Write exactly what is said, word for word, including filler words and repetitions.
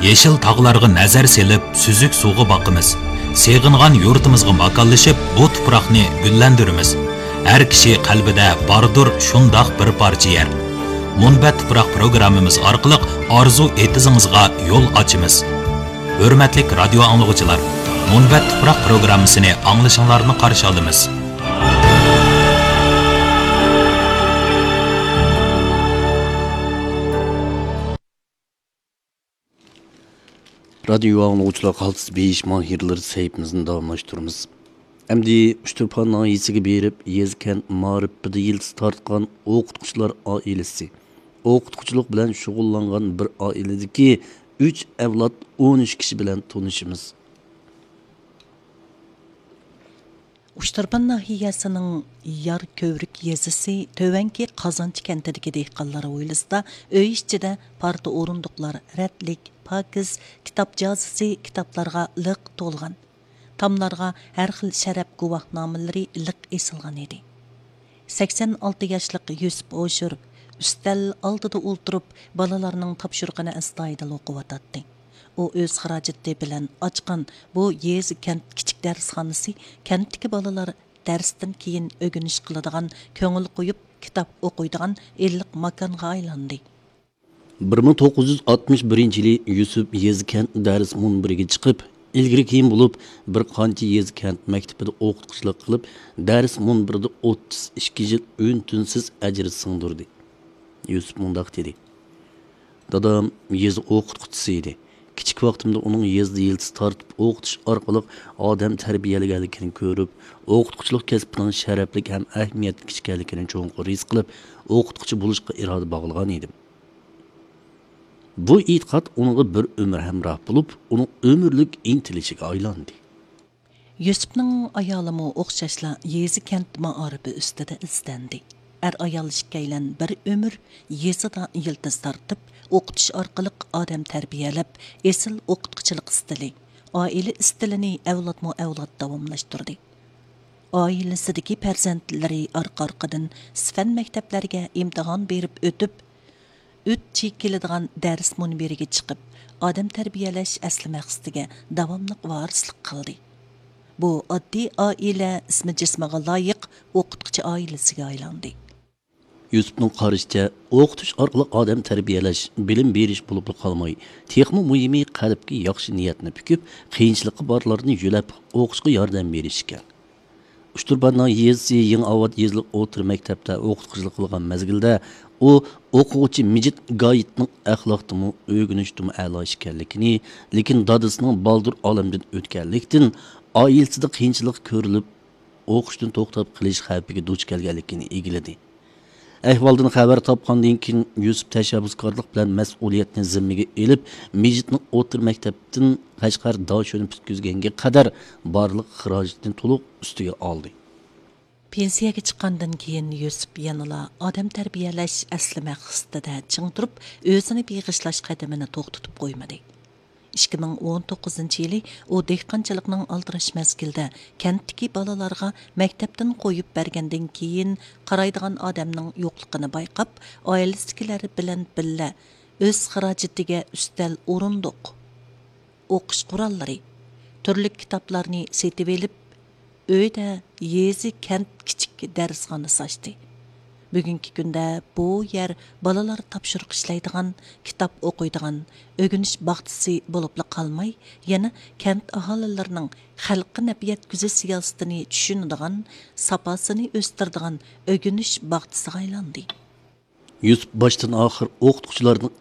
يېشىل تاغلارغا نەزەر سېلىپ، سۈزۈك سۇغا باقىمىز. سېغىنغان يۇرتىمىزغا ماكانلىشىپ، بۇ تۇپراقنى گۈللەندۈرىمىز. ھەر كىشى قەلبىدە باردۇر شۇنداق بىر پارچە يەر. مۇنبەت تۇپراق پروگراممىمىز ئارقىلىق ئارزۇ ئېتىزىڭىزغا يول ئاچىمىز. ھۆرمەتلىك رادىيو ئاڭلىغۇچىلار، مۇنبەت تۇپراق پروگراممىسىنى ئاڭلىشىڭلارنى قارشى ئالىمىز. رادىيو ئاڭلىغۇچىلار، قالتىس بېيىش ماھىرلىرى سەھىپىمىزنى داۋاملاشتۇرىمىز. ئەمدى ئۇچتۇرپان ناھىيەسىگە بېرىپ، يېزا كەنت مائارىپىدا يىلتىز تارتقان ئوقۇتقۇچىلار ئائىلىسى، ئوقۇتقۇچىلىق بىلەن شۇغۇللانغان بىر ئائىلىدىكى ئۈچ ئەۋلاد، ئون ئۈچ كىشى بىلەن تونۇشىمىز. ئۇچتۇرپان ناھىيەسىنىڭ يار كۆۋرۈك يېزىسى تۆۋەنكى قازانچى كەنتىدىكى دېھقانلار ھويلىسىدا ئۆي ئىچىدە پارتا ئورۇندۇقلار رەتلىك، پاكىز، كىتاب جازىسى كىتابلارغا لىق تولغان. تاملارغا ھەر خىل شەرەپ گۇۋاھنامىلىرى لىق ئېسىلغان ئىدى. سەكسەن ئالتە ياشلىق يۈسۈپ ھوشۇر ئۈستەل ئالدىدا ئولتۇرۇپ، بالىلارنىڭ تاپشۇرۇقىنى ئەستايىدىل ئوقۇۋاتاتتى. ئۇ ئۆز خىراجىتى بىلەن ئاچقان بۇ يېزا كەنت كىچىك دەرسخانىسى كەنتتىكى بالىلار دەرستىن كېيىن ئۆگىنىش قىلىدىغان، كۆڭۈل قويۇپ كىتاب ئوقۇيدىغان ئىللىق ماكانغا ئايلاندى. بىر مىڭ توققۇز يۈز ئاتمىش بىرىنچى يىلى يۈسۈپ يېزا كەنت دەرس مۇنبىرىگە چىقىپ، ئىلگىرى كېيىن بولۇپ بىر قانچە يېزا كەنت مەكتىپىدە ئوقۇتقۇچىلىق قىلىپ، دەرس مۇنبىرىدە ئوتتۇز ئىككى يىل ئۈن-تىنسىز ئەجىر سىڭدۈردى. يۈسۈپ مۇنداق دېدى: دادام يېزا ئوقۇتقۇچىسى ئىدى. كىچىك ۋاقتىمدا ئۇنىڭ يېزىدا يىلتىز تارتىپ ئوقۇتۇش ئارقىلىق ئادەم تەربىيەلىگەنلىكىنى كۆرۈپ، ئوقۇتقۇچىلىق كەسپىنىڭ شەرەپلىك ھەم ئەھمىيەتلىك ئىكەنلىكىنى چوڭقۇر ھېس قىلىپ، ئوقۇتقۇچى بولۇشقا ئىرادە باغلىغان ئىدىم. بۇ ئېتىقاد ئۇنىڭغا بىر ئۆمۈر ھەمراھ بولۇپ، ئۇنىڭ ئۆمۈرلۈك ئىنتىلىشىگە ئايلاندى. يۈسۈپنىڭ ئايالىمۇ ئوخشاشلا يېزا كەنت مائارىپى ئۈستىدە ئىزدەندى. ئەر-ئايال ئىككىيلەن بىر ئۆمۈر يېزىدا يىلتىز تارتىپ، ئوقۇتۇش ئارقىلىق ئادەم تەربىيەلەپ، ئېسىل ئوقۇتقۇچىلىق ئىستىلى، ئائىلە ئىستىلىنى ئەۋلادمۇ ئەۋلاد داۋاملاشتۇردى. ئائىلىسىدىكى پەرزەنتلىرى ئارقا-ئارقىدىن سىفەن مەكتەپلەرگە ئىمتىھان بېرىپ ئۆتۈپ، ئۈچ چېكىلىدىغان دەرس مۇنبىرىگە چىقىپ، ئادەم تەربىيەلەش ئەسلى مەقسىتىگە داۋاملىق ۋارىسلىق قىلدى. بۇ ئاددىي ئائىلە ئىسمى جىسمىغا لايىق ئوقۇتقۇچى ئائىلىسىگە ئايلاندى. يۈسۈپنىڭ قارىشىچە، ئوقۇتۇش ئارقىلىق ئادەم تەربىيەلەش، بىلىم بېرىش بولۇپلا قالماي، تېخىمۇ مۇھىمى، قەلبكە ياخشى نىيەتنى پۈكۈپ، قىيىنچىلىقى بارلارنى يۆلەپ، ئوقۇشقا ياردەم بېرىش ئىكەن. ئۇچتۇرپان ناھىيەسى يېڭىئاۋات يېزىلىق ئوتتۇرا مەكتەپتە ئوقۇتقۇچىلىق قىلغان مەزگىلدە، ئۇ ئوقۇغۇچى مىجىت گايىتنىڭ ئەخلاقتىمۇ، ئۆگىنىشتىمۇ ئەلا ئىكەنلىكىنى، لېكىن دادىسىنىڭ بالدۇر ئالەمدىن ئۆتكەنلىكتىن، ئائىلىسىدە قىيىنچىلىق كۆرۈلۈپ، ئوقۇشتىن توختاپ قېلىش خەۋپىگە دۇچ كەلگەنلىكىنى ئىگىلىدى. ئەھۋالدىن خەۋەر تاپقاندىن كېيىن، يۈسۈپ تەشەببۇسكارلىق بىلەن مەسئۇلىيەتنى زىممىگە ئېلىپ، مىجىتنىڭ ئوتتۇرا مەكتەپتىن قەشقەر داشۆنى پۈتكۈزگەنگە قەدەر بارلىق خىراجىتىنى تولۇق ئۈستىگە ئالدى. پېنسىيەگە چىققاندىن كېيىن، يۈسۈپ يەنىلا ئادەم تەربىيەلەش ئەسلى مەقسىتىدە چىڭ تۇرۇپ، ئۆزىنى بېغىشلاش قەدىمىنى توختىتىپ قويمىدى. ئىككى مىڭ ئون توققۇزىنچى يىلى ئۇ دېھقانچىلىقنىڭ ئالدىراش مەزگىلىدە كەنتتىكى بالىلارغا مەكتەپتىن قويۇپ بەرگەندىن كېيىن، قارايدىغان ئادەمنىڭ يوقلۇقىنى بايقاپ، ئائىلىسىدىكىلەر بىلەن بىللە ئۆز خىراجىتىگە ئۈستەل، ئورۇندۇق، ئوقۇش قوراللىرى، تۈرلۈك كىتابلارنى سېتىۋېلىپ، ئۆيدە يېزا، كەنت كىچىك دەرسخانىسى ئاچتى. بۈگۈنكى كۈندە بۇ يەر بالىلار تاپشۇرۇق ئىشلەيدىغان، كىتاب ئوقۇيدىغان، ئۆگىنىش باغچىسى بولۇپلا قالماي، يەنە كەنت ئاھالىلىرىنىڭ خەلققە نەپ يەتكۈزۈش سىياسىتىنى چۈشىنىدىغان، ساپاسىنى ئۆستۈرىدىغان ئۆگىنىش باغچىسىغا ئايلاندى. يۈسۈپ باشتىن ئاخىر ئوقۇتقۇچىلارنىڭ